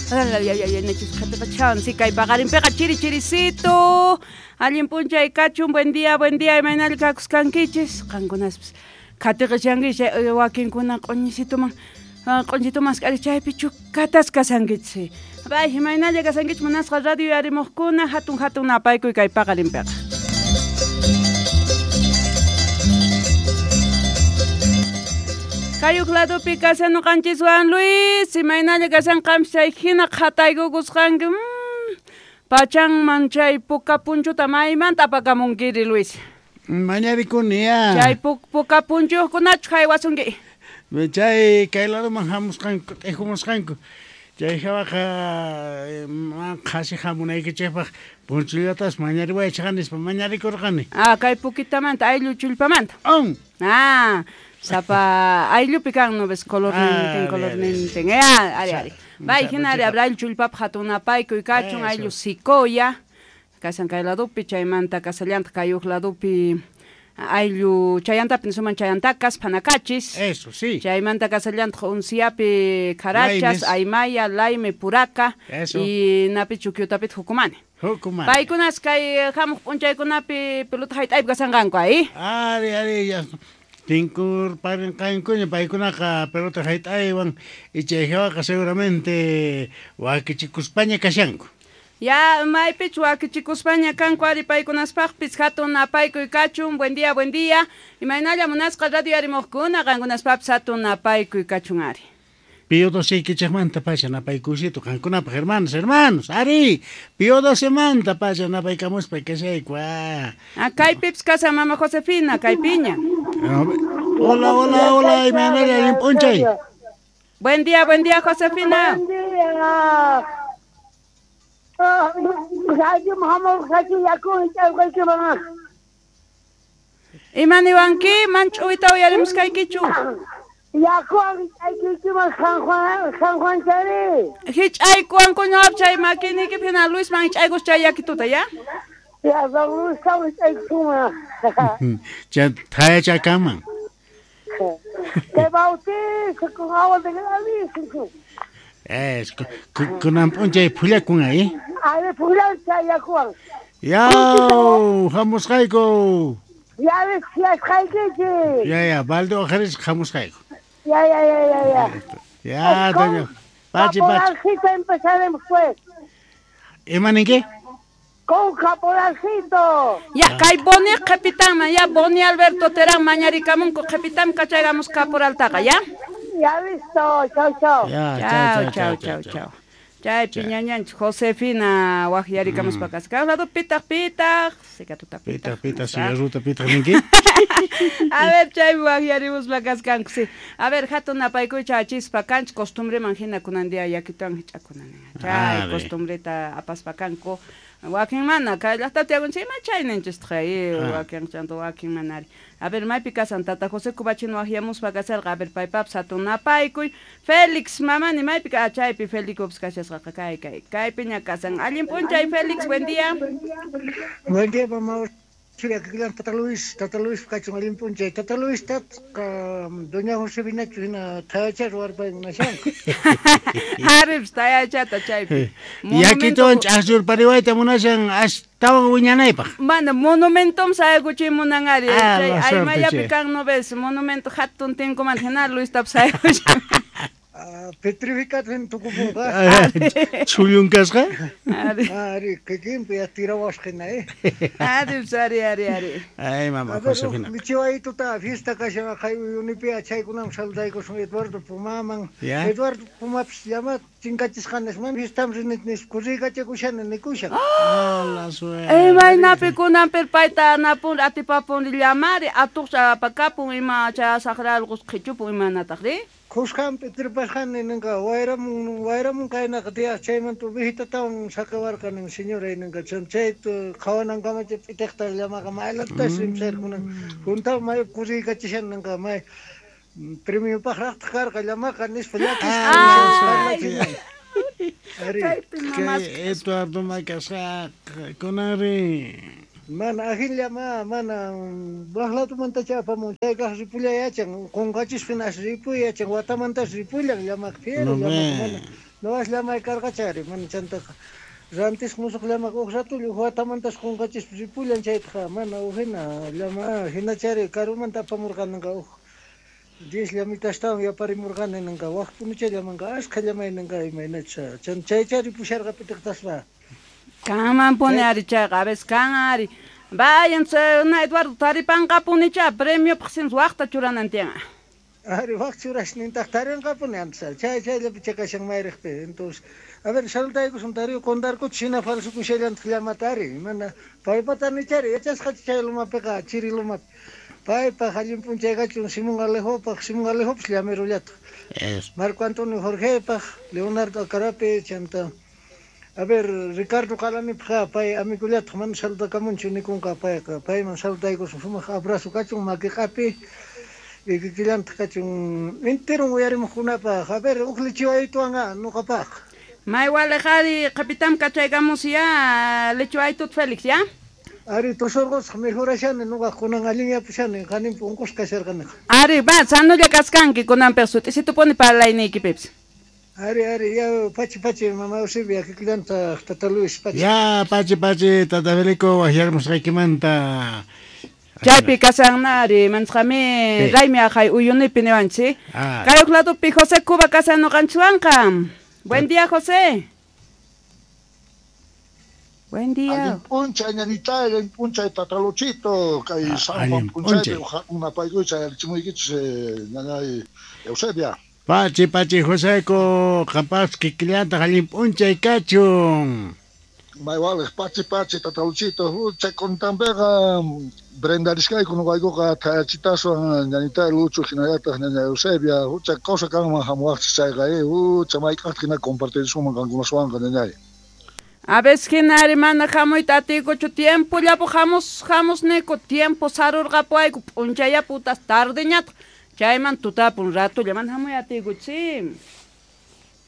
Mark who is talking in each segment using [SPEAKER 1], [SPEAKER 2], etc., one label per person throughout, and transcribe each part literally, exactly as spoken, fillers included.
[SPEAKER 1] Nachis kay paqarinpiqa chiri chirisito. Allin p'unchay kachun, buen día, buen día, imaynalla kakusqankichis, qankunaspis qhatiqishankichis wakinkuna q'uñisituman q'uñisituman k'ari chaypi chukatas kasankichis. Bay, imaynalla kasankichis munasqa radio yarimuqkuna hatun hatun napaykuy kay paqarinpiqa. Kayuq ladopi kasan noqanchiswan Luis, imaynalla kasan qampis chay hina qhataykukusqanki. Pachanman chay puka punchuta maymanta apakamunkiri Luis.
[SPEAKER 2] Mañarikuni ya.
[SPEAKER 1] Chay puka punchuyuqkunachu haywasunki.
[SPEAKER 2] Chay kay ladoman hamusqanku, t'ijumusqanku. Chay hawaqa qhasi hamunaykichikpaq punchullatas mañariwaychik nispa mañarikurqani.
[SPEAKER 1] Ah, kay pukitamanta ayllu chullpamanta.
[SPEAKER 2] On.
[SPEAKER 1] Ah, sapa ayllupi kan no ves color nintin color nintin. Ya, ari ari. Bay hina ari ayllu chullpapaq hatun napaykuy kachun ayllu sikoya. Kasan kay ladopi chaymanta kasallantaq kayuq ladopi ayllu chayantapi nisuman chayantakas phanakachis.
[SPEAKER 2] Eso, sí.
[SPEAKER 1] Chaymanta kasallantaq unsiapi karachas, aymaya, laime, puraka.
[SPEAKER 2] Eso.
[SPEAKER 1] Y napi chukyutapit jukumani.
[SPEAKER 2] Jukumani.
[SPEAKER 1] Paykunas kay hamuq p'unchaykunapi pelota hayt'aypi kasanqanku ahí.
[SPEAKER 2] Ari, ari, ya. Tinkur parinqankuña paykunaqa pelota hayt'aywan y chay hawaqa seguramente wakichikuspaña kashanku.
[SPEAKER 1] Ya, maypich wakichikuspaña kanku ari paykunaspaqpis hatun napaykuy kachun, buen día, buen día. Imaynalla munasqa radio arimuqkuna qankunaspapis hatun napaykuy kachun ari.
[SPEAKER 2] Pío doce ikichikmanta pacha napaykusito qankunapaq hermanos, hermanos, ari. Pío docemanta pacha napaykamuspa kashayku.
[SPEAKER 1] Ah, kaypipis kasan mama Josefina, kaypiña.
[SPEAKER 2] Hola, hola, hola, imaynalla allin p'unchay.
[SPEAKER 1] Buen día, buen día, Josefina.
[SPEAKER 3] Buen día.
[SPEAKER 1] Imaniwanki manch'uyta uyarimusqaykichu. Hich'aykuwanku ñuqap chay makiniykipi hina Luisman hich'aykus chay yakituta, ya?
[SPEAKER 3] Ya, don Luis hich'aykusunman.
[SPEAKER 2] Chay thayachakaman.
[SPEAKER 3] Te bautizo con agua de granizo.
[SPEAKER 2] Es, kunan p'unchay phullakun ahí.
[SPEAKER 3] Ari phullan chay yakuwan.
[SPEAKER 2] Yaw, hamusqayku.
[SPEAKER 3] Ya yasqaykichik.
[SPEAKER 2] Ya, ya, balde ojaris hamusqayku.
[SPEAKER 3] Ya, ya, ya, ya, ya.
[SPEAKER 2] Ya, doña. Pachi, pachi.
[SPEAKER 3] Caporalcito empezaremos pues.
[SPEAKER 2] ¿Imaninki?
[SPEAKER 3] Con caporalcito.
[SPEAKER 1] Ya, kay Boni qhipitanman, ya Boni Alberto Terán mañarikamunku qhipitam kachaygamus caporaltaqa, ya?
[SPEAKER 3] Ya listo, chau, chau.
[SPEAKER 2] Ya,
[SPEAKER 1] chau, chau, chau, chau. Chay piñañanchik Josefina waqyarikamuspa kasqa. Lado pitaq pitaq, sikatuta
[SPEAKER 2] pitaq. Pitaq pitaq, cigarruta pitaq ninki.
[SPEAKER 1] A ver, chay waqyarimuspa kasqanku, sí. A ver, hatun napaykuycha achispa kanchik costumbreman hina kunan día yakituwan hich'akunan. Chay costumbreta apaspa kanku. Wakin mana, kay llaqtapi tiyakunchik ima chayninchistaq wakin chanto wakin manari. A ver, maypi kasan tata José Cubachino waqyamuspa kasarqa, a ver, paypapas hatun napaykuy. Félix mamani maypi ka chaypi Félix kashasqaqa kay kay kaypiña kasan. Allin p'unchay Félix, buen día.
[SPEAKER 4] Buen día, mamá. Tata Luis, Tata Luis kachun allin p'unchay. Tata Luis tat doña Josefinachu hina thayacha ruwarpay munashanku.
[SPEAKER 1] Arips thayachata chaypi.
[SPEAKER 2] Yakituwan ch'aqchurpariwayta munashan astawan wiñanaypaq.
[SPEAKER 1] Mana monumentom sayaykuchiy munan ari. Chay aymayapi kan no ves monumento hatun tinkumanta hina Luistapis sayaykuchin.
[SPEAKER 4] Petrificado en tukupunqa.
[SPEAKER 2] Chullun kasqa?
[SPEAKER 1] Ari.
[SPEAKER 4] Ari, kikinpi tirawasqina, eh.
[SPEAKER 1] Ari, ari, ari, ari.
[SPEAKER 2] Ay, mama Josefina.
[SPEAKER 4] Michiwaytuta fiesta kashan kay uyunipi chaykunaman saludaykusun Eduardo Pumaman. Eduardo Pumapis llama chinkachisqanas man fiestam rinit nispa kurriykachakushani nikushan.
[SPEAKER 2] Hola, suerte.
[SPEAKER 1] Imaynapi kunanpir payta napun atipapun llamari atuqcha apakapun ima chay saqralqus qhichupun imanataq ri?
[SPEAKER 4] Khusqanpi tripasqani ninqa wayramun wayramun kaynaqa tiyaq chaymanta ovejitatawan saqiwarqani señora ninqa chayta qhawanankama chay p'itiqta llamaqa maylatas rimsarkunan juntawan may kurriykachishan ninqa may premiopaqraqtaq karqa llamaqa nispa llakisqa parlachin. Ari
[SPEAKER 2] kay Eduardo makasqa kunanri
[SPEAKER 4] Mana ajinllama mana waqlatumanta apamun chaykaq ripulla yachan qunqachispa ripuy yachan watamantas ripullan llamaq fiero llamaq mana Noqas llamay karqachari mana chantaqa rantisqa musuq llamaqa huk ratulla huk watamantas qunqachispa ripullan chaytaqa mana huk hina llama hinachari karumanta apamurqaninqa huk diez llamitastawan yaparimurqani ninqa wak punucha llamanqa ashkha llamay ninqa imaynacha chaychari pusharqa pitiqtaspa.
[SPEAKER 1] Kanman puni ari chayqa a veces kan ari. Vayan na Eduardo taripanqapunicha premiopaq sin waqta churanan tiyan.
[SPEAKER 4] Ari waq churasnintaq tarinqapuni antes chay chayllapi chakashan mayriqpi. Entonces a ver salutaykusun tariu qundarkuch hina falsukushallantaq llamata ari mana paypata nichari yachasqachu chay lumapiqa chiri lumapi paypaq allin p'unchay kachun Simón Alejopaq Simón Alejopis llamirullataq Marco Antonio Jorgepaq Leonardo Acarapi chanta a ver Ricardo Qalanipaq pay amigullataq mana salutakamunchu nikunqa payqa payman salutaykusun sumaq abrazo kachun makiqapi y kikillantaq kachun enteron uyarimuqkunapaq a ver huk lichiwaytuwan nuqapaq.
[SPEAKER 1] May walejari qapitam kachaykamus ya lichiwaytut Félix ya.
[SPEAKER 4] Ari tosorqosqa mejorashani nuqa kunan allinyapishani qaninpi unqusqa kasharqaniqa.
[SPEAKER 1] Ari va sanulla kaskanki kunanpiq sut'isitupuni parlayniykipipis.
[SPEAKER 4] Ari ari ya pachi pachi mama Eusebia kikillantaq tata Luis pachi.
[SPEAKER 2] Ya pachi pachi tata Felico waqyarmusqaykimanta.
[SPEAKER 1] Chaypi kasanari manchqami raymi aqhay uyunipi niwanchik. Kay huk ladopi José Cuba kasan nuqanchikwanqa. Buen día, José. Buen día.
[SPEAKER 5] Allin p'unchay ñañitay, allin p'unchay tataluchito, kay San Juan p'unchaypi unapaykucha yarichimuykichis ñañay Eusebia.
[SPEAKER 2] Pachi pachi Joseco, qampas kikillantaq allin p'unchay kachun.
[SPEAKER 5] May waliq pachi pachi tataluchito, hucha kuntanpiqa brindarishkayku nuqaykuqa thayachitaswan ñañitay Lucho hinallataq ñaña Eusebia, hucha kawsa kanman hamuwaqchis chayqa hucha mayk'aqtaq hina compartirisunman qankunaswanqa ñañay.
[SPEAKER 1] A veces hinari mana hamuyta atiykuchu tiempollapu hamus hamusniku tiempo sarurqapuwayku p'unchayaputas tardeñataq chayman tutapun ratulla mana hamuy atiykuchi.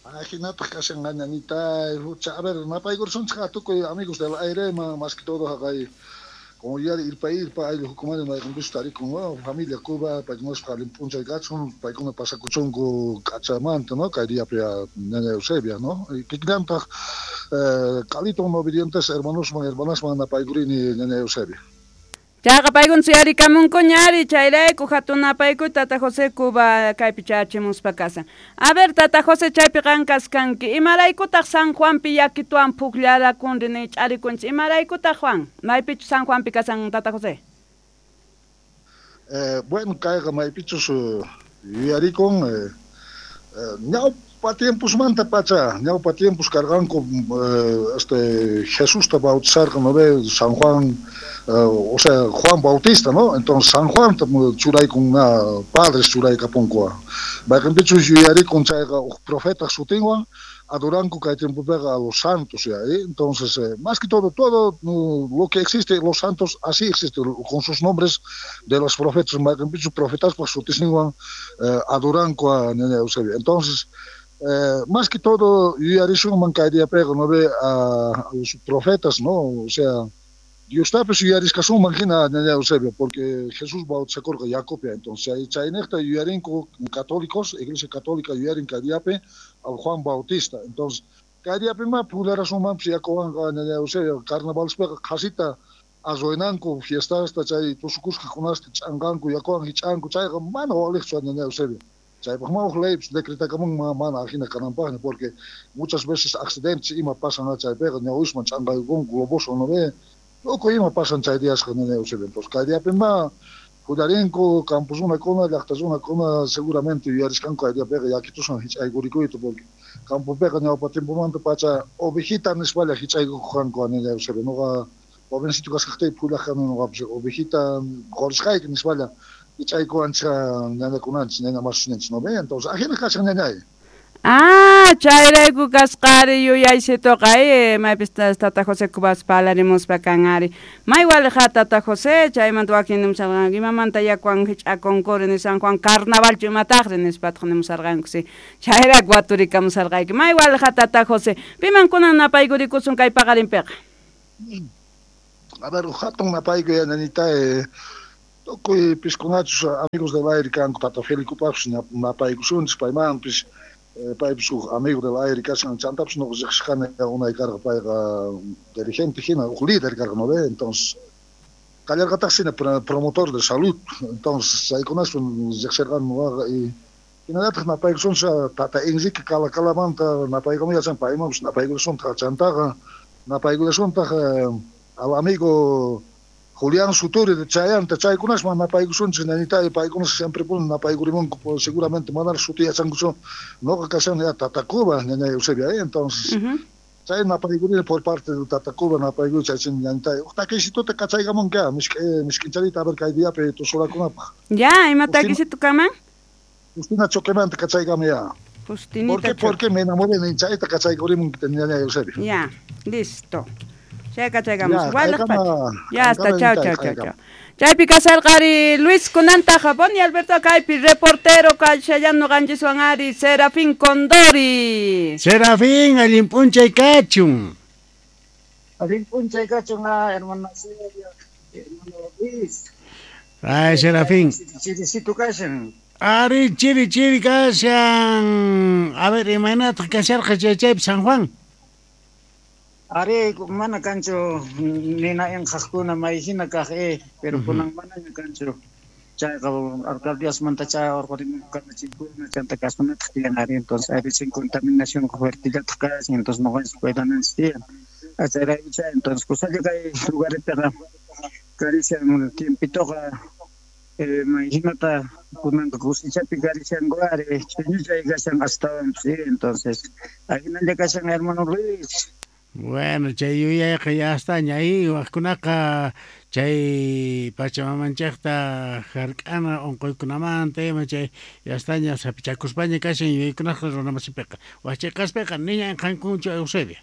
[SPEAKER 5] Hinataq kashan ñañitay hucha a ver napaykursunchik tukuy amigos del aire más que todo haqay como ya irpa irpa ayllu hukumani mayqinpichus tarikun no familia Cuba paykunaspa allin p'unchay kachun paykuna pasakuchunku k'achamanta no kay diapi ñaña Eusebia no kikillantaq Calito no obedientes hermanosman hermanasman napaykurini ñaña Eusebia.
[SPEAKER 1] Chayqa paykuna suyarikamunkuña ari chayrayku hatun napaykuy tata José Cuba kaypi chayachimuspa kasan. A ver tata José chaypi qan kaskanki imaraykutaq San Juanpi yakituwan pukllarakunri nich'arikunchik imaraykutaq Juan maypichu San Juanpi kasan tata José?
[SPEAKER 5] Eh, bueno kayqa maypichus yuyarikun eh, eh, ñawpa tiempusmanta pacha ñawpa tiempus karqanku eh, este Jesusta bautizarqa no ve San Juan Uh, o sea, Juan Bautista, ¿no? Entonces, San Juan churaykun na padres churaykapunku. Mayqinpichus yuyarikun chayqa huk profeta sutinwan adoranku kay tiempopiqa a los santos, ya, ¿eh? Entonces, eh, más que todo, todo uh, lo que existe, los santos así existe, con sus nombres de los profetas, mayqinpichus profetaspaq sutisninwan eh, adoranku a ñaña Eusebia. Entonces, eh, más que todo yuyarisunman kay diapiqa, ¿no ve? A, a los profetas, ¿no? O sea, Diostapis yuyariskasunman hina ñaña Eusebio, porque Jesús bautizakurqa Jacobia, entonces chaynejta yuyarinku católicos, Iglesia Católica yuyarin kay diapi al Juan Bautista, entonces kay diapi ma phullarasunmanpis yakuwanqa ñaña Eusebio, carnavalspiqa qhasita arruinanku fiestasta chay tusukusqakunasta ch'anqanku yakuwan hich'anku chayqa mana waliqchu ñaña Eusebio. Chaypaq ma huk leypis decretakamunman mana ajina kananpaqña porque muchas veces accidentes ima pasan chaypiqa ñawisman ch'anqaykunku globoswan no ve. Tukuy ima pasan chay diasqa ñaña Eusebio. Entonces kay diapi ma hullarinko campos runakuna llaqta runakuna seguramente yuyarisqanku kay diapiqa yakituswan hich'aykurikuyta porque campopiqa ñawpa tiempomanta pacha ovejita nispalla hich'aykuqanku ñaña Eusebio. Nuqa jovencito kasqaqtaypi hullaqkani nuqapis ovejita qurisqayki nispalla hich'aykuwanchik ñañakunanchik ñaña masusninchik no ve. Entonces ajina kashan ñañay.
[SPEAKER 1] Ah, chayrayku kasqari yuyaysituqa eh, maypis tata José Cubas parlarimuspa kan ari. May waliqa tata José chaymanta wakin nimusarqanku imamanta yakuwan hich'akunkuri ni San Juan carnavalchu imataqri nispataq nimusarqanku si. Chayrayku waturikamusarqayki. May waliqa tata José piman kunan napaykurikusun kay paqarinpiqa?
[SPEAKER 5] A ver, hatun napayku ñañita eh, tukuy piskunachus amigos del aire kanku tata Felicupaqpis napaykusunchis paymanpis. Paypis huk amigo del aire kashan chantapis nuqa riqsishqani unay karqa payqa dirigente hina huk líder karqa no ve entonces kallarqataq hina promotor de salud entonces chaykunaswan riqsirqani nuqaqa y hinallataq napaykusunchik tata Enrique Calakalamanta napaykuman yachan paymanpis napaykusuntaq chantaqa napaykullasuntaq al amigo Julián Suturi de Chayanta chaykunasman napaykusunchik ñañitay paykunas siempre puni napaykurimunku seguramente mana suti yachankuchu nuqa kashani ya Tata Cuba ñañay Eusebia entonces chay napaykurini por parte de Tata Cuba napaykuri chaychin ñañitay uq takisituta kachaykamunka misk'i misk'incharita a ver kay diapi tusurakunapaq
[SPEAKER 1] ya ima takisitu kaman
[SPEAKER 5] Justina Choquemanta kachaykami ya
[SPEAKER 1] Justinita
[SPEAKER 5] ¿Por qué? Porque me enamoré de chayta kachaykurimun ñañay Eusebia
[SPEAKER 1] ya listo Chay kachaykamos. Ya está, chao, chao, chao, chao. Chaypi kasarqari Luis kunanta Japón y Alberto kaypi reportero kashallano qanchiswan ari Serafín Condori.
[SPEAKER 2] Serafín, allin p'unchay kachun.
[SPEAKER 4] Allin p'unchay kachun, hermano hermano Luis.
[SPEAKER 2] Ay, Serafín.
[SPEAKER 4] Chirisito kashan.
[SPEAKER 2] Ari, chiri, chiri kashan. A ver, imaynataq kasharqa chay chaypi San Juan.
[SPEAKER 4] Ari, mana kanchu nina inqaqkuna mayhina kaq eh, pero kunan manaña kanchu. Chayqa alcaldíasmanta chay urqurimunku kamachiykuna chanta kasmanataq tiyan ari, entonces ari sin contaminación fuertellataq kashan, entonces nuqanchis cuidananchis tiyan. Chayrayku chay, entonces kusalla kay lugarepiqa karishan tiempitoqa eh, mayhinata kunanqa kusichapi karishanku ari, ch'uñuchay kashan astawanpis, entonces ahinalla kashan hermano Luis.
[SPEAKER 2] Bueno, chay yuyayqa ya astaña ahí waqkunaqa chay pachamamanchikta hark'ana unquykunamanta ima chay ya astaña sapichakuspaña kashan yuyaykunaqa runamasipiqa wachayqaspiqa niña inqankunchu Eusebia.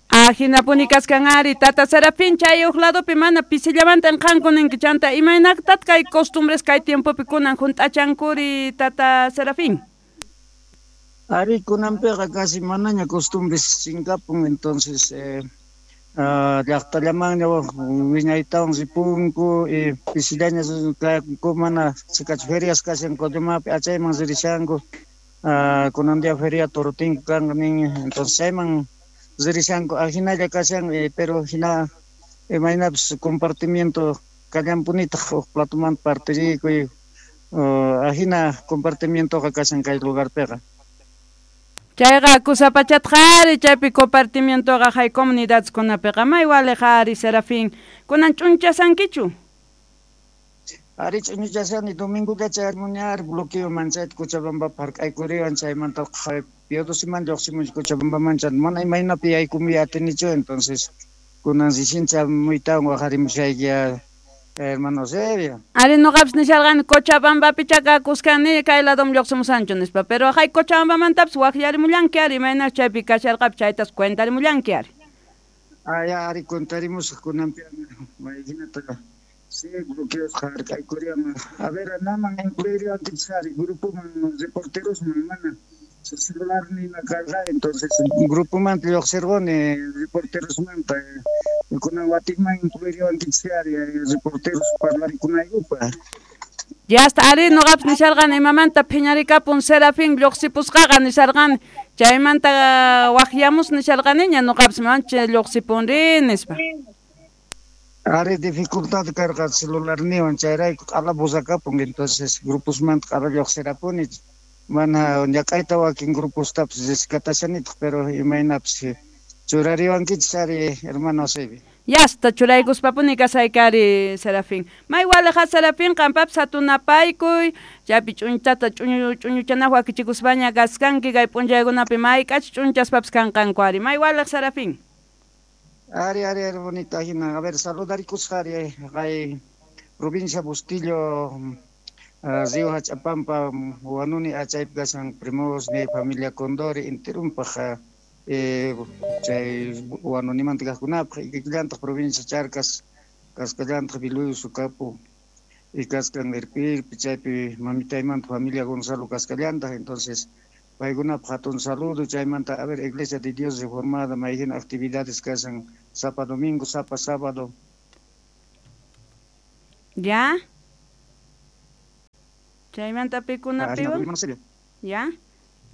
[SPEAKER 1] Ajinapuni kaskan ari tata Serafín chay uq ladopi mana pisillamanta inqanku ninki chanta imaynaqtat kay costumbres kay tiempopi kunan hunt'achankuri tata Serafín.
[SPEAKER 4] Ari kunanpiqa casi manaña costumbres chinkapun entonces eh, uh, llaqtallamanña wiñaytawan ripunku y pisillaña mana chikachu ferias kashan Collumapi achayman ririshanku uh, kunan día feria Torotinku kanqa nin entonces chayman ririshanku ajinalla kashan eh, pero hina imaynapis compartimiento kallanpunitaq uq platomanta partirikuy uh, ajina compartimientoqa kashan kay lugarpiqa.
[SPEAKER 1] Chayqa kusapachatqa ari chaypi compartimientoqa hay comunidadkunapiqa may waliqa ari Serafín kunan ch'unchasankichu.
[SPEAKER 4] Ari ch'uñuchasani domingoqa chayarmuni ari bloqueoman chayta Cochabambapi hark'aykuriwan chaymanta Piodosiman lluqsimunchik Cochabambaman chanta mana imaynapi yaykumuy atinichu entonces kunan recién muytawan waqarimushayki hermano Eusebio.
[SPEAKER 1] Ari nuqapis nisharqani Cochabambapi chakakuskani kay ladom lluqsimusanchu nispa pero hay Cochabambamantapis waqllarimullanki ari imaynas chaypi kasharqapi chaytas cuentarimullanki ari.
[SPEAKER 4] Ah, ya ari cuentarimusaq kunanpi mayhinata sí bloqueos hark'aykuriwan a ver naman incluiriwankichis ari grupoman reporterosman mana celular nina karqa entonces grupomanta lluqsirquni reporterosmanta kunan watikman incluiriwankichis ari reporteros parlarikunaykupaq.
[SPEAKER 1] Ya hasta ari nuqapis nisharqani imamanta phiñarikapun Serafín lluqsipusqaqa nisharqani chaymanta waqyamus nisharqaniña nuqapis mancha lluqsipunri nispa.
[SPEAKER 4] Ari dificultad karqa celularniwan chayrayku q'ala buzakapun entonces gruposmanta q'ala lluqsirapuni mana ñak'ayta wakin grupostapis rescatashanitaq pero imaynapis churariwankichis ari hermano Eusebio.
[SPEAKER 1] Ya hasta churaykuspapuni kasayki ari Serafín. May waliqa Serafín qampapis hatunapaykuy chaypi ch'unchata ch'uñu ch'uñuchanaq wakichikuspaña kaskanki kay p'unchaykunapi mayk'ach ch'unchaspapis kanqanku ari may waliq Serafín.
[SPEAKER 4] Ari ari ari bonita hina a ver saludarikusqa ari kay provincia Bustillo uh, Río Hachapampa Huanuni achaypi kashan primos mi familia Condori enterumpaq eh, chay Huanunimanta kaqkunapaq ikillantaq provincia Charcas kasqallantaq Biluyo Sucapu y kaskan Irpirpi chaypi mamitaymanta familia Gonzalo kasqallantaq entonces paykunapaq hatun saludo chaymanta a ver Iglesia de Dios Reformada mayhina actividades kashan sapa domingo sapa sábado.
[SPEAKER 1] Ya chaymanta pikunapiwan ya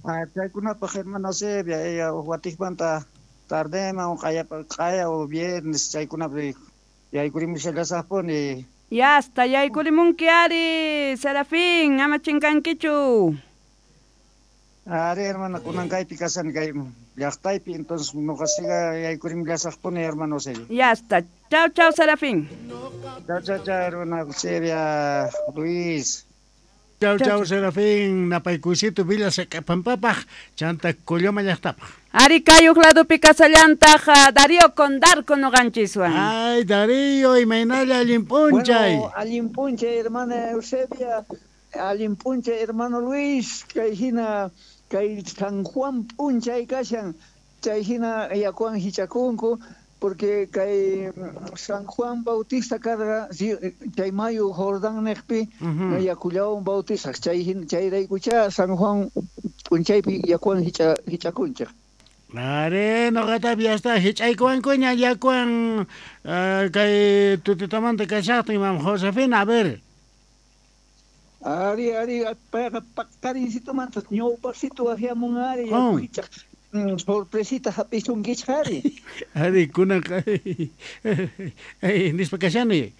[SPEAKER 6] Ah, chaykunapaq hermana Eusebia, ella watikmanta tardeman o q'aya q'aya o viernes chaykunapi yaykurimushallasaqpuni.
[SPEAKER 1] Ya hasta yaykurimunki ari, Serafín, ama chinkankichu.
[SPEAKER 6] Ari hermana, kunan kaypi kasani kay llaqtaypi, entonces nuqasiqa yaykurimullasaqpuni hermano Eusebia.
[SPEAKER 1] Ya está. Chau, chau, Serafín.
[SPEAKER 6] Chau, chau, chau, hermana Eusebia, Luis.
[SPEAKER 2] Chau, chau, Serafín, napaykuysito Villa Saq'apampapaj, chanta Colloma llaqtapaj.
[SPEAKER 1] Ari kayuq ladupi kasallantaq Darío Condarco noqanchiswan.
[SPEAKER 2] Ay, Darío, imaynalla allin p'unchay.
[SPEAKER 7] Bueno, allin p'unchay, hermana Eusebia, allin p'unchay, hermano Luis, kay hina kay San Juan p'unchay kashan, chay hina yakuwan hich'akunku, porque kay San Juan Bautista karqa chay mayu Jordán niqpi yakullawan bautizaq, chay hina chayraykucha San Juan p'unchaypi yakuwan hich'a hich'akunchik.
[SPEAKER 2] Are, noqatapi ya está hich'aykuwankuña yakuwan kay tutitamanta kashaqtin, mam Josefina, a ver.
[SPEAKER 7] Ari, ari, payqa paqarincitumanta ñawpaqsitu waqyamun ari yaku hich'aq. Sorpresita hap'isunkichik ari.
[SPEAKER 2] Ari, kunanqa nispa kashani.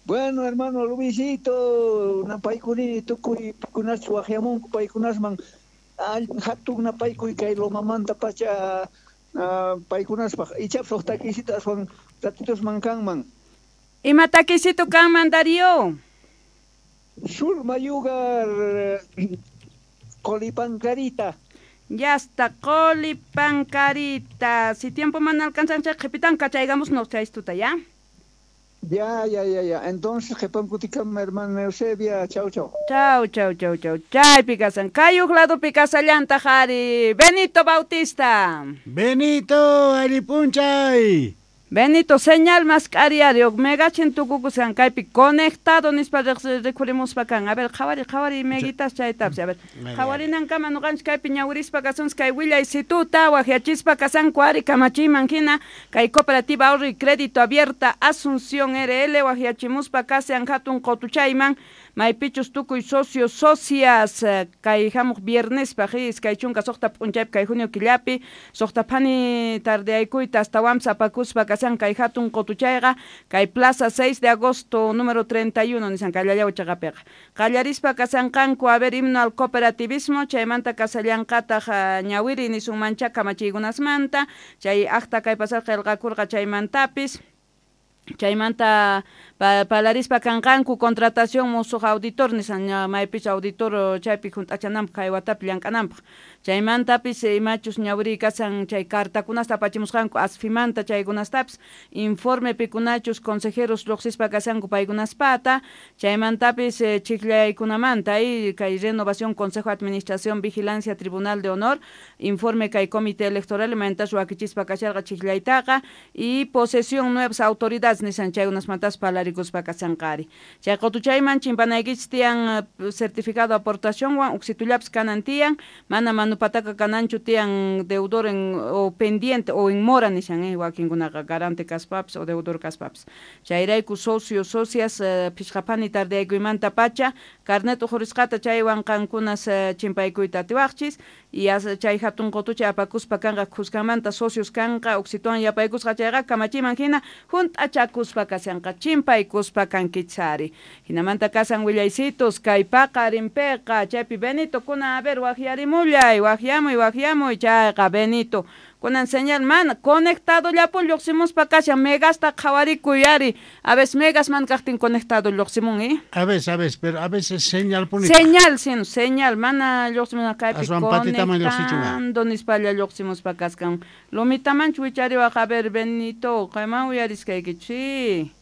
[SPEAKER 7] Bueno, hermano Luisito, napaykunini tukuy pikunachu waqyamunku paykunasman hatun napaykuy kay Lomamanta pacha paykunaspaq ichapas huk takisito aswan ratitusman kanman.
[SPEAKER 1] Ima takisito kanman, Darío?
[SPEAKER 7] Sur mayugar Colipancarita.
[SPEAKER 1] Ya está, Colipancarita. Si tiempo mana alcanzan, qhipitan kachaygamos no chaystuta, ¿ya?
[SPEAKER 7] Ya, ya, ya, ya. Entonces, qhipankutikama, hermana Eusebia. Chau, chau.
[SPEAKER 1] Chau, chau, chau, chau. Chaypi kasan. Kayuq ladupi kasallantaq ari Benito Bautista.
[SPEAKER 2] Benito, allin p'unchay.
[SPEAKER 1] Benito, señal mask'ari ari megachin tukukusqan kaypi conectado nispa rikhurimuspa kan. A ver, qhawari, qhawari meguitas chaytapis. A ver, qhawarinankama nuqanchik kaypi ñawirispa kasunchik kay willaysituta waqyachispa kasanku ari kamachiyman hina kay Cooperativa Ahorro y Crédito Abierta Asunción R L waqyachimuspa kasan hatun qutuchayman maypichus tukuy socios socias kay hamuq viernespaq iskay chunka suqta p'unchaypi kay junio killapi suqta phani tardeaykuyta astawanpas apakuspa kasan kay hatun qutuchayqa kay Plaza seis de agosto número treinta y uno nisan kay Llallawchaqapiqa qallarispa kasanqanku a ver himno al cooperativismo chaymanta kasallanqataq ñawiri nisunmancha kamachiykunasmanta chay acta kay pasar qillqakurqa chaymantapis chaymanta palarispa kanqanku contratación musuq auditor nisan maypis auditor chaypi hunt'achananpaq kay watapi llank'ananpaq chaymantapis imachus ñawiri kasan chay cartakunasta apachimusqanku asfimanta chaykunastapis informe pikunachus consejeros lluqsispa kasanku paykunaspata chaymantapis chiqllaykunamanta y kay renovación consejo de administración vigilancia tribunal de honor informe kay comité electoral imantas wakichispa kasharqa chiqllaytaqa y posesión nuevas autoridades nisan chaykunasmantas palarikuspa kasanqari chay qutuchayman chimpanaykichis tiyan certificado aportacionwan uksitullapis kanan tiyan mana manupataka kananchu tiyan deudor en, o pendiente o en mora nisan eh, wakinkunaqa garante kaspapis o deudor kaspapis chayrayku socios socias uh, phishqapani tardeaykuymanta pacha carnet ujurisqata chaywan qankunas uh, chimpaykuyta atiwaqchis y chay hatun qutuchay apakuspa kanqa khuskamanta socios kanqa uksituwan yapaykusqa chayqa kamachiman hina hunt'achakuspa kasanqa chimpaykuspa kankichari hinamanta kasan willaysitos kay paqarinpiqa chaypi Benito kuna a ver waqyarimullay waqyamuy waqyamuy chayqa Benito kunan señal mana conectado llapun lluqsimuspa kashan megasta qhawarikuy ari a veces megas man kaqtin conectado lluqsimun eh
[SPEAKER 2] a veces a veces pero a veces señal puni
[SPEAKER 1] señal sin señal mana lluqsimun kaypi conectando nispalla lluqsimuspa kaskan lumitamanchu wichariwaq a ver Benito kayman uyariskaykichi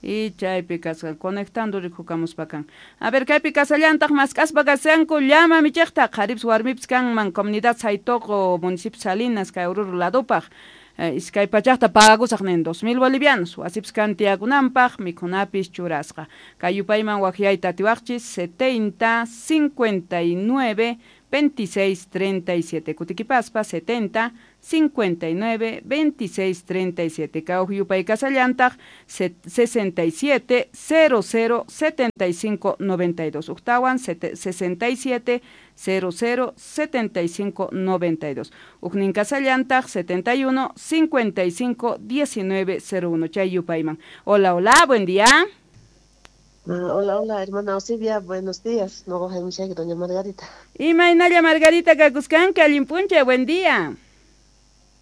[SPEAKER 1] y chaypi kasqa conectando rikukamuspa kan a ver kaypi kasallantaq mask'aspa kasanku llama michiqta qharipis warmipis kanman comunidad Saytoqo municipio Salinas kay Oruro ladupaq iskay pachaqta pagusaq nin dos mil bolivianos wasipis kan tiyakunanpaq mikhunapis churasqa kay yupayman waqyayta atiwaqchis setenta cincuenta y nueve veintiséis treinta y siete. Kutiquipaspa setenta cincuenta y nueve veintiséis treinta y siete. Kauj yupay kasallantaq sesenta y siete cero cero setenta y cinco noventa y dos. Uktawan sesenta y siete cero cero setenta y cinco noventa y dos. Uknin kasallantaq setenta y uno cincuenta y cinco diecinueve cero uno. Chay yupayman. Hola, hola, buen día.
[SPEAKER 8] Hola, hola, hermana Eusebia, buenos días. No, doña Margarita.
[SPEAKER 1] Imaynalla Margarita kakuskanka, allinpuncha, buen día.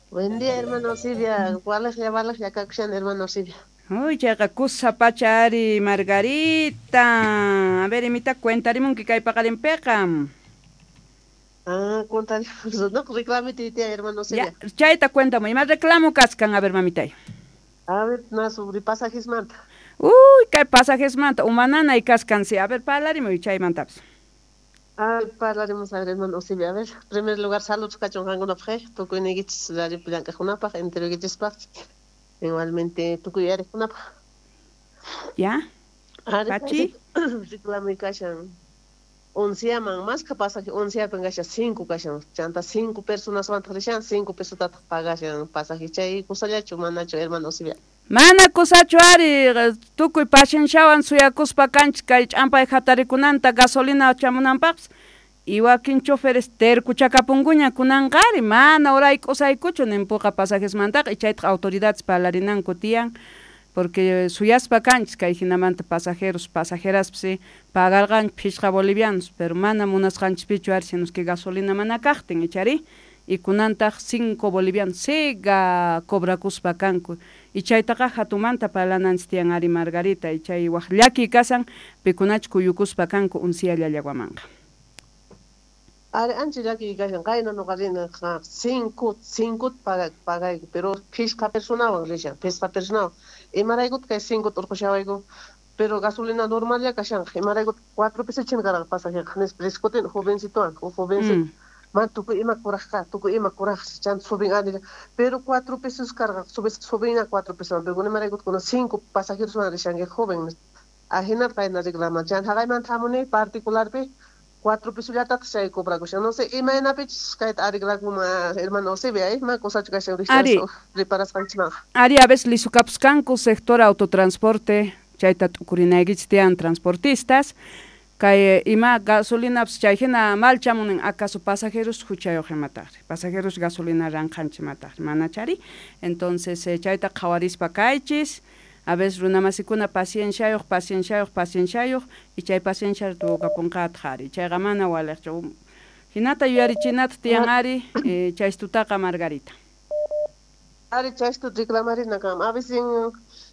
[SPEAKER 8] Buen día, hermana Eusebia. Walajlla, walajlla kakushan, hermana Eusebia.
[SPEAKER 1] Uy, chayqa kusa pacha ari, Margarita. A ver, imita cuentarimunki kay paqarinpiqa.
[SPEAKER 8] Ah, cuentarimus. No, reclamite tía, hermana Eusebia.
[SPEAKER 1] Ya, chayta cuéntame. Ima reclamo kaskan, a ver, mamitay.
[SPEAKER 8] A ver, na sobre pasajes manta.
[SPEAKER 1] Uy, kay pasajes manta, umanana y kaskansi. A ver, parlarimuy chaymantapas.
[SPEAKER 8] A ver, parlaremos a ver, hermano Eusebio. A ver, en primer lugar, saludos kachun qankunapaq, tukuyniykichis radiopi llank'aqkunapaq, enteroykichispaq, igualmente tukuy uyariqkunapaq.
[SPEAKER 1] Ya. Pachi.
[SPEAKER 8] Reclamuy kashan onceaman, más que pasaje onceapin kashan cinco kashan, chanta cinco personaswantaq rishan, cinco pesotataq pagashan pasaje chay kusallachu manachu, hermano Eusebio.
[SPEAKER 1] Mana kusachu ari, tukuy pacienciawan suyakuspa kanchis kay ch'ampay hatarikunanta gasolina chamunanpaqpis y wakin choferes terkuchakapunkuña kunanqari mana urayk'usaykuchu ninpuqa pasajesmantaqa y chaytaq autoridades parlarinanku tiyan porque suyaspa kanchis kay hinamanta pasajeros pasajeraspis pagarqanchis phishqa bolivianos pero mana munasqanchispichu ari sino que gasolina mana kaqtin ichari y kunantaq cinco bolivianos siga cobrakuspa kanku y chaytaqa hatumanta parlananchis tiyan ari Margarita y chay waq llaki kasan pikunach kuyukuspa kanku uncia llallawamanqa.
[SPEAKER 8] Ari ancha llaki kashan qayna nuqa rina cinco cinco pagayku pero phishqa personawan rishan phishqa personawan imaraykutaq kay cinco urqushawayku pero gasolina normal ya kashanqa imaraykutaq cuatro pesos chinkarqa pasajeqa nispa riskutin jovencitowan jovencito mm. Man tukuy ima kurajqa tukuy ima kuraj chanta subin anilla pero cuatro pesos karqa subes subin a cuatro pesos pero imaraykutaq kuna cinco pasajeros rishanki joven ajinata qayna reclaman chanta haqaymanta hamuni particularpi cuatro pesos chay cobrakushan no sé imaynapichus kayta arreglakunman hermano Eusebio ima kusachu kashan reparasqanchikmanqa.
[SPEAKER 1] Ari a veces lisukapuskanku sector autotransporte chayta t'ukurinaykichis tiyan transportistas kay ima gasolinapas chay hina mal chamunin acaso pasajeros huchayuq imataqri pasajeros gasolina ranqanchik imataqri manachari entonces eh, chayta qhawarispa kaychis a veces runamasikuna pacienciayuq pacienciayuq pacienciayuq y chay paciencia tukapunqataq ari chayqa mana waliqchu hinata yuyarichinata tiyan ari eh, chaystutaqa Margarita.
[SPEAKER 8] Ari chaystu reclamarina kam a veces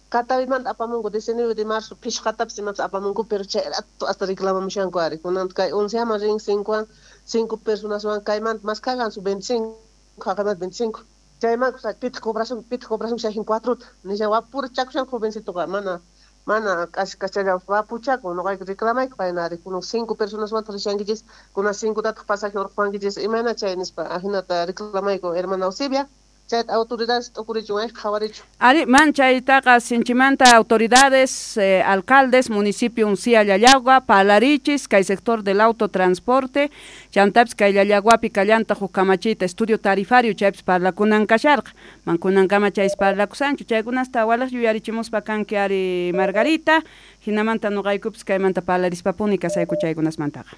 [SPEAKER 8] Katawimanta apamunku diecinueve de marzo phishqatapis imapas apamunku pero chay rato hasta reclamamushanku ari kunan kay onceaman rin cincowan cinco personaswan kaymanta mas kagansu veinticinco haqaymanta veinticinco chayman pitaq cobrasun pitaq cobrasun chayjin cuatrota nishan wapura chakushan jovencitoqa mana mana k'ashi wapuchakun nuqayku reclamayku payna ari kunan cinco personaswantaq rishankichis kunan cincotataq pasaje urquwankichis imayna chay nispa ajinata reclamayku hermana Eusebia. Chayta autoridades t'ukurichun ay qhawarichun.
[SPEAKER 1] Ari man chaytaqa sinchimanta autoridades eh, alcaldes municipio Uncía Llallagua parlarichis kay sector del autotransporte chantapis kay Llallaguapi kallanta huk kamachiyta estudio tarifario chaypis parlakunan kasharqa man kunankama chaypis parlakusanchu chaykunasta walaj yuyarichimuspa kanki ari Margarita hinamanta nuqaykupis kaymanta parlarispapuni kasayku chaykunasmantaqa.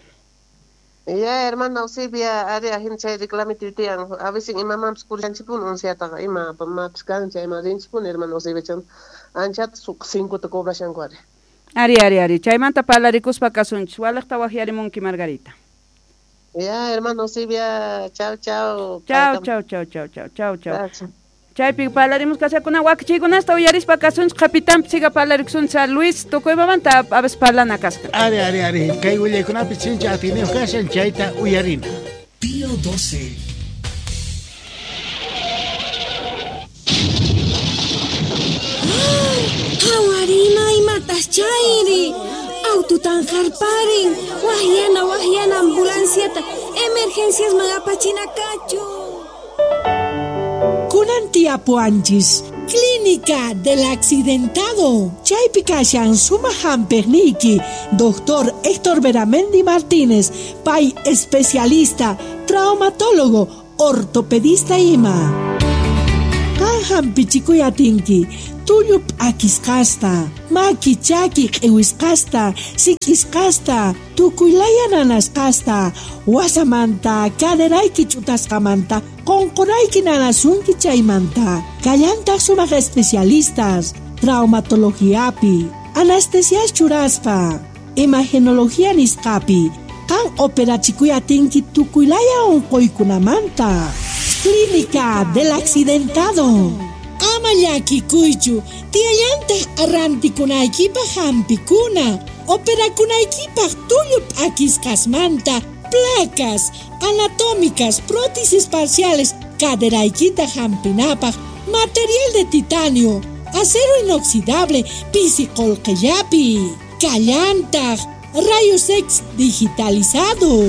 [SPEAKER 8] Ya, hermana Eusebia, ari ajin chay reclamito tiyan a veces imamanpis kurishanchikpuni unciataqa ima mapis kan chay ima rinchikpuni hermana Eusebia chan anchata cincota cobrashanku ari.
[SPEAKER 1] Ari, ari, ari, chaymanta parlarikuspa kasunchis walaqta waqyarimunki Margarita.
[SPEAKER 8] Ya, hermana Eusebia, chao, chao.
[SPEAKER 1] Chao, chao, chao, chao, chao, chao, chao. Chaypi parlarimus kasakuna wakichiykunasta uyarispa kasunchik qapitanpi siga parlarikusunchik a Luis tukuymamanta a veces parlana kasqa.
[SPEAKER 2] Ari, ari, ari, kay willaykunapi sinchi atiyniyuq kashan chayta uyarina.
[SPEAKER 9] Pío doce.
[SPEAKER 10] Hawarina imatas chayri aututan harparin wahyana wahyana ambulanciata emergencias magapachina kachu.
[SPEAKER 11] Kunan tiyapuanchis, Clínica del Accidentado. Chaypi kashan sumaq hampiqniyki, Doctor Héctor Beramendi Martínez, pay especialista, traumatólogo, ortopedista ima. Qan hampichikuy atinki, tullu p'akisqasta, maki chaki q'iwisqasta, sik'isqasta, tukuylaya nanasqasta, wasamanta, caderayki ch'utasqamanta, qonqorayki nanasunki chaymanta. Kallantaq sumaq especialistas, traumatologiapi, anestesias churaspa, imagenología nisqapi, qan operachikuy atinki tukuylaya unquykunamanta. Clínica del Accidentado. Ama llakikuychu, tiyallantaq arrantikunaykipaq hampikuna, operakunaykipaq tullu p'akisqasmanta, placas anatómicas, prótesis parciales, caderaykita hampinapaq, material de titanio, acero inoxidable, pisi qolqellapi, kallantaq, rayos X digitalizado.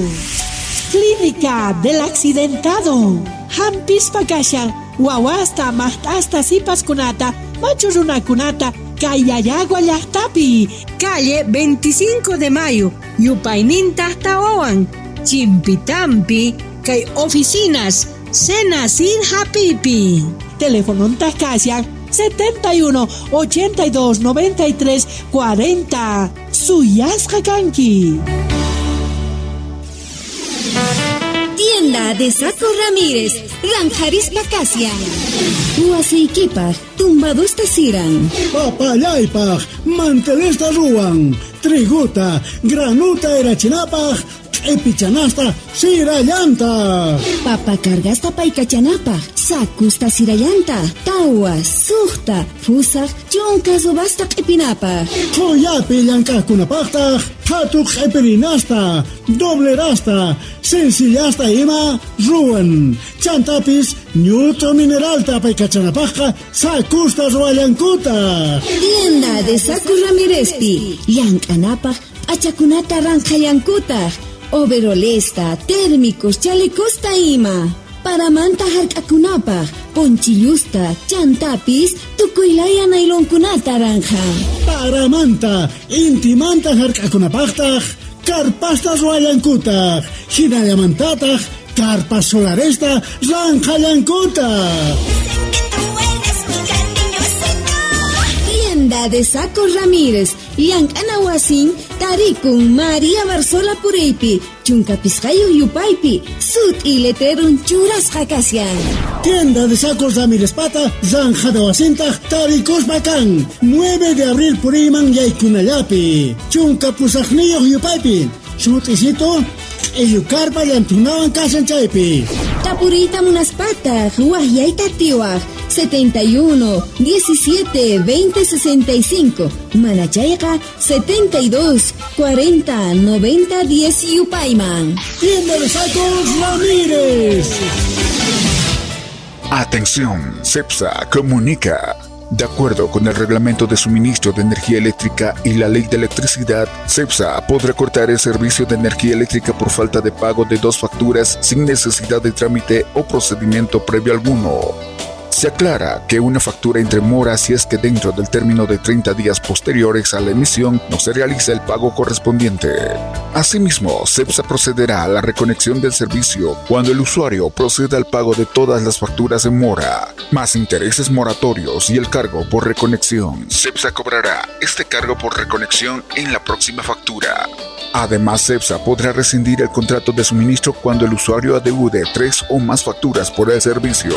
[SPEAKER 11] Clínica del Accidentado. Hampispa kashan, wawasta, maqt'asta, sipaskunata, machu runakunata, kay Llallagua llaqtapi.
[SPEAKER 12] Calle veinticinco de Mayo, yupayninta tawawan, Chimpitampi, kay oficinas, Senacid Hapipi.
[SPEAKER 11] Teléfono kashan, setenta y uno, ochenta y dos, noventa y tres, cuarenta. Suyasqa kanki.
[SPEAKER 10] Tienda de Saco Ramírez, Ranjarispa Casia. Huasiykipaj, tumbadusta siran.
[SPEAKER 13] Papallaypaj, mantelesta ruwan. Triguta, granuta erachinapaj, q'ipichanasta sirallanta.
[SPEAKER 10] Papa cargasta paykachanapaj, sakusta sirallanta, tawa, suqta, fusaj, chunka subasta q'ipinapaj.
[SPEAKER 13] Qhuyapi llank'aqkunapaqtaq, qhatu q'ipirinasta, doblerasta, sencillasta ima ruwan. Chantapis ñut'u mineralta paykachanapaqqa sakusta ruwallankutaq.
[SPEAKER 10] Tienda de Saco Ramírezpi, llank'anapaj p'achakunata ranqhallankutaq. Overolesta, térmicos, chalecosta ima. Paramanta hark'akunapaj, ponchillusta, chantapis, tukuylaya nailonkunata ranja.
[SPEAKER 13] Paramanta, intimanta hark'akunapaqtaq, karpasta ruwallankutaq, hinallamantataq, karpas solaresta ranqhallankutaq.
[SPEAKER 10] Tienda de Saco Ramírez, llank'ana wasin, tarikun María Barzola Puriypi, chunka pisqayuq yupaypi, sut'i letrerun churasqa kashan.
[SPEAKER 13] Tienda de Saco Ramírez pata, ranjada wasintaq tarikuspa kan, nueve de abril puriyman yaykunallapi, chunka pusaqniyuq yupaypi, sut'isito, q'illukarpa llantunawan kashan chaypi.
[SPEAKER 10] Tapuriyta munaspataq, waqyayta atiwaq, setenta y uno, diecisiete, veinte, sesenta y cinco. Manachayqa, setenta y dos, cuarenta, noventa, diez yupayman.
[SPEAKER 13] Tienda de Sacos Ramírez.
[SPEAKER 14] Atención, CEPSA comunica. De acuerdo con el Reglamento de Suministro de Energía Eléctrica y la Ley de Electricidad, CEPSA podrá cortar el servicio de energía eléctrica por falta de pago de dos facturas sin necesidad de trámite o procedimiento previo alguno. Se aclara que una factura entre mora si es que dentro del término de treinta días posteriores a la emisión no se realiza el pago correspondiente. Asimismo, CEPSA procederá a la reconexión del servicio cuando el usuario proceda al pago de todas las facturas en mora, más intereses moratorios y el cargo por reconexión. CEPSA cobrará este cargo por reconexión en la próxima factura. Además, CEPSA podrá rescindir el contrato de suministro cuando el usuario adeude tres o más facturas por el servicio.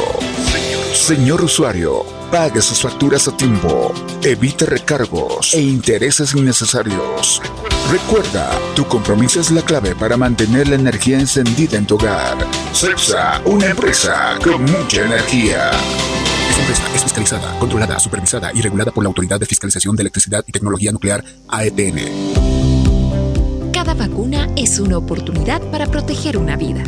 [SPEAKER 14] Señor usuario, pague sus facturas a tiempo, evite recargos e intereses innecesarios. Recuerda, tu compromiso es la clave para mantener la energía encendida en tu hogar. CEPSA, una empresa con mucha energía. Esta empresa es fiscalizada, controlada, supervisada y regulada por la Autoridad de Fiscalización de Electricidad y Tecnología Nuclear, A E T N.
[SPEAKER 15] Cada vacuna es una oportunidad para proteger una vida.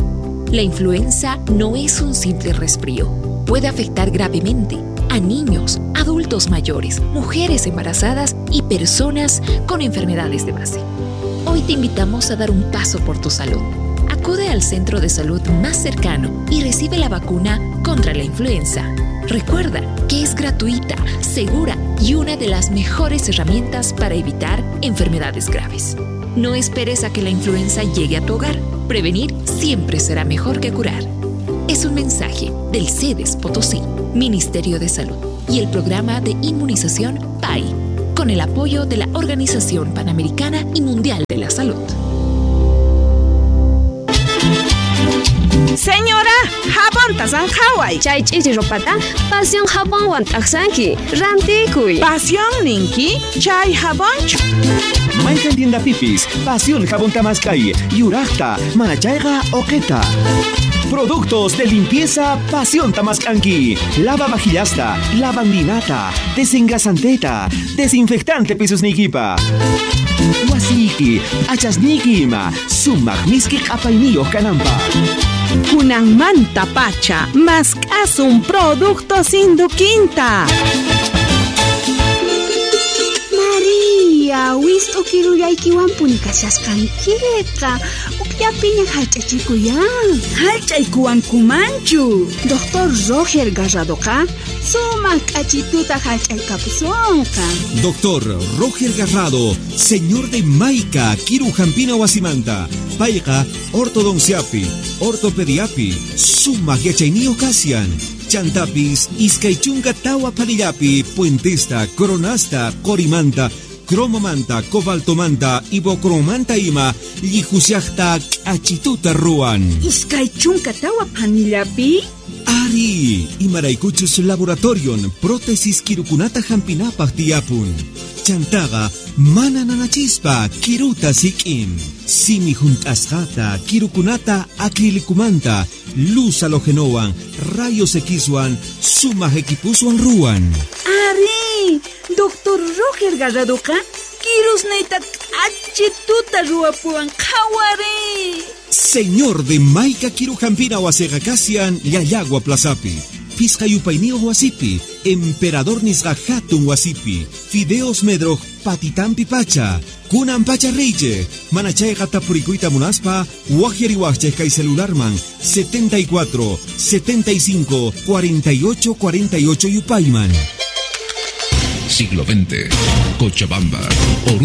[SPEAKER 15] La influenza no es un simple resfrío. Puede afectar gravemente a niños, adultos mayores, mujeres embarazadas y personas con enfermedades de base. Hoy te invitamos a dar un paso por tu salud. Acude al centro de salud más cercano y recibe la vacuna contra la influenza. Recuerda que es gratuita, segura y una de las mejores herramientas para evitar enfermedades graves. No esperes a que la influenza llegue a tu hogar. Prevenir siempre será mejor que curar. Es un mensaje del Sedes Potosí, Ministerio de Salud y el programa de inmunización P A I, con el apoyo de la Organización Panamericana y Mundial de la Salud.
[SPEAKER 16] Señora, jabón tasanjaway.
[SPEAKER 17] Chay ch'ichi ropata, pasión jabonwan t'aqsanki, rantikuy.
[SPEAKER 16] Pasión ninki, chay jabonchu.
[SPEAKER 18] Mayqan tienda pipis, pasión jabón tamaskay, yuraqta, manachayqa oqeta. Productos de limpieza Pasión Tamascanqui. Lava vajillasta, lavandinata, desengrasanteta, desinfectante pisusnikipa. Wasiki, achasniki ima, sumaq miski q'apayniyuq kananpaq.
[SPEAKER 16] Kunanmanta pacha, mask'asun productos Induquinta.
[SPEAKER 19] María, wist'u kirullaykiwanpuni kashasqankiqa. Ukllapiña hallch'achikuyan.
[SPEAKER 16] Hallch'aykuwankumanchu.
[SPEAKER 19] Doctor Roger Garradoqa sumaq k'achituta hallch'aykapusunqa.
[SPEAKER 18] Doctor Roger Garrado, señor de Maica, Kiru Jampina Wasimanta, Payqa, ortodonciapi, ortopediapi, sumaq yachayniyuq kasian. Chantapis, iskay chunka tawa panillapi, puentesta, coronasta, corimanta, cromomanta, cobaltomanta, ibocromanta ima, llijusiajta, k'achituta ruwan.
[SPEAKER 16] Iskay chunka tawa panillapi?
[SPEAKER 18] Ari, imaraykuchus laboratorion, prótesis kirukunata hampinapaq tiyapun. Chantaqa, mana nanachispa, kiruta sik'in. Simi junt'asqata, kirukunata acrilicumanta, luz halogenowan, rayos Xwan, sumaq equipuswan ruwan.
[SPEAKER 16] Ari, Doctor Roger Garradoqa, kirusniyta k'achituta ruwapuwan qhawari.
[SPEAKER 18] Señor de Maica Kirujampina wasiqa kasian Llallagua Plazapi. Pisqa yupayniyuq wasipi, Emperador nisqa hatun wasipi, Fideos Medroj patitampi pacha, kunan pacha reyche, manachayqa tapurikuyta munaspa, waqyariwaqchej kay celularman setenta y cuatro, setenta y cinco, cuarenta y ocho, cuarenta y ocho yupayman.
[SPEAKER 20] Siglo veinte, Cochabamba, Oruro.